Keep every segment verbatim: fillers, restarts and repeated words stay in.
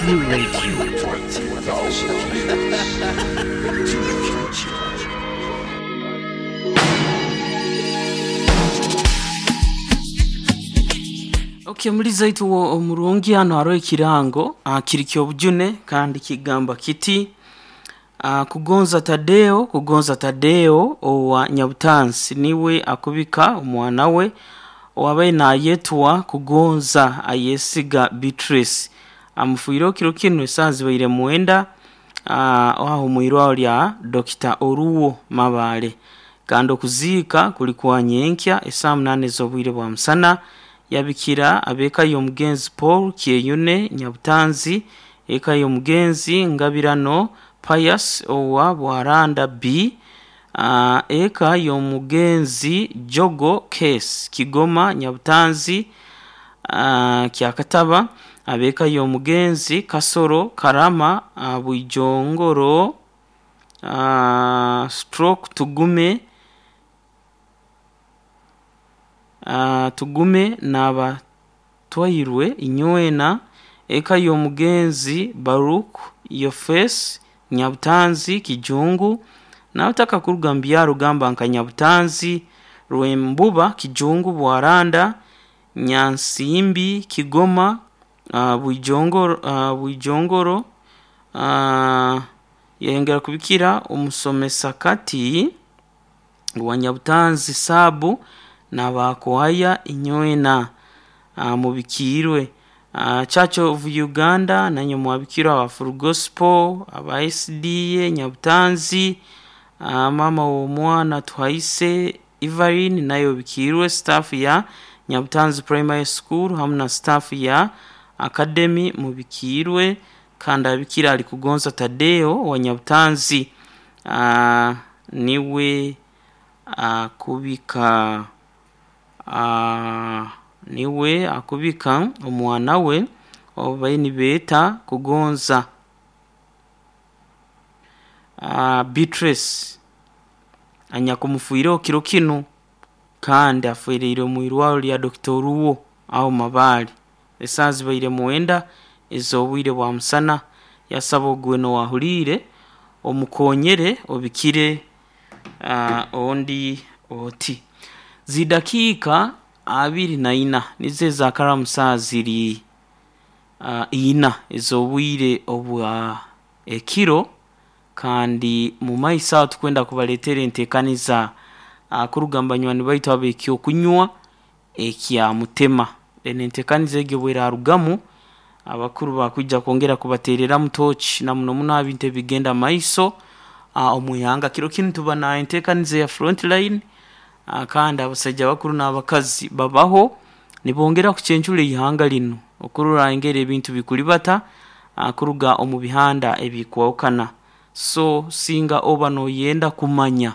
Radio. Twenty thousand years into the future. Okay, muri zaitu wo omurungi hano hariho ekirango ah, kiri kyobujune kandi kigamba kiti ah, kugonza Tadeo kugonza Tadeo owa Nyabutansi niwe akubika omwana we owabaye nayetwa kugonza ayesiga Beatrice amufuire kiro kinu esaa zibaire mwenda ah, aho mwirwaro lya Dr. Oruwo Mabale kandi okuziika kuli kwa nyenkya esaa munane ez'obwire bwa musana yabikira abeka y'omugenzi Paul Kyeyune Nyabutanzi eka y'omugenzi Ngabirano Pius owa Bwaranda B uh, eka y'omugenzi Jogo Case Kigoma Nyabutanzi uh, Kyakataba abeka y'omugenzi Kasoro Karama uh, Bwijongoro uh, stroke Tugume uh, tugume n'abatwairwe inywena eka y'omugenzi Baruk Yofes Nyabutanzi Kijungu n'abataka kuruga mu byaro gamba nka Nyabutanzi Rwembuba Kijungu Bwaranda Nyansimbi Kigoma uh, Bwijongoro uh, Bwijongoro uh, yengera kubikira omusomesa kati wa Nyabutanzi Sabu n'abakwaya inywena uh, mubikirwe uh, Church of Uganda nanyo mwabikirwa aba Full Gospel aba S D A Nyabutanzi uh, mama w'omwana Twaise Evelyn nayo bikirwe staff ya Nyabutanzi Primary School hamwe na staff ya Academy mubikirwe kandi abikira ali kugonza Tadeo wa Nyabutanzi uh, niwe akubika uh, niwe akubika omwana we obaye nibeeta kugonza uh, Beatrice anyakumufuireho kiro kinu kandi afuireire mu irwaro lya Dr. Oruwo aho Mabale esaa zibaire mwenda ez'obwire bwa musana yasaba ogweno wahuriire omukonyere obikire uh, ondi oti zidakiika abiri na ina nizo ezakaramu saa ziri uh, ina ez'obwire obwa ekiro kandi mu maiso aho tukwenda kubaleetera enteekaniza uh, kuruga mu banywani baitu ab'ekyokunywa ekya mutema then enteekaniza egyo bwerarugamu abakuru bakwija kwongera kubateereramu tochi na muno muno aha bintu ebigenda maiso uh, omwihanga kiro kinu tuba na enteekaniza ya front line uh, kandi abasaija bakuru n'abakazi babaho nibongera kucencura eihanga linu okurora engeri ebintu bikuribata uh, kuruga omu bihanda ebikwahukana so singa oba noyenda kumanya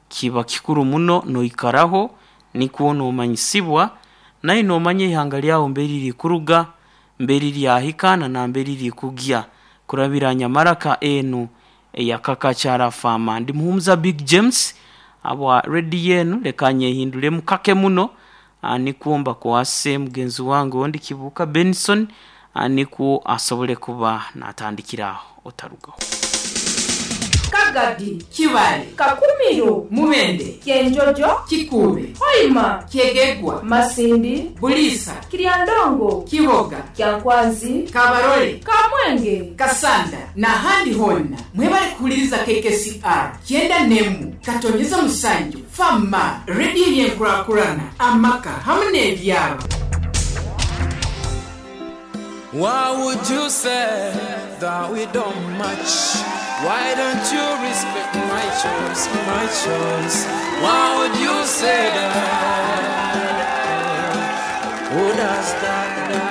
kiba kikuru muno noikaraho nikwo nomanyisibwa naye nomanya ihanga lyaho mbere riri kuruga mbere ryahika na mbere riri kugya kurabira nyamaraka enu eyakakakyara fama ndi muhumuza Big James abwa redi yenu leka nyehindulemu kake muno nikuomba kwase mugenzi wange ondi Kibuka Benson nikwo asobole kuba natandikiraho otarugaho. Kagadi, Kibale, Kakumiro, Mubende, Kyenjojo, Kikube, Hoima, Kyegegwa, Masindi, Bulisa, Kiryandongo, Kiboga, Kyankwanzi, Kabarole, Kamwenge, Kasanda n'ahandi honna mwebale kuhuliriza K K C R kyenda n'emu katonyeza musanju fama rediyo y'enkurakurana amaka hamwe n'ebyalo. Why would you say that we don't match? Why don't you respect my choice, my choice? Why would you say that? Who does that?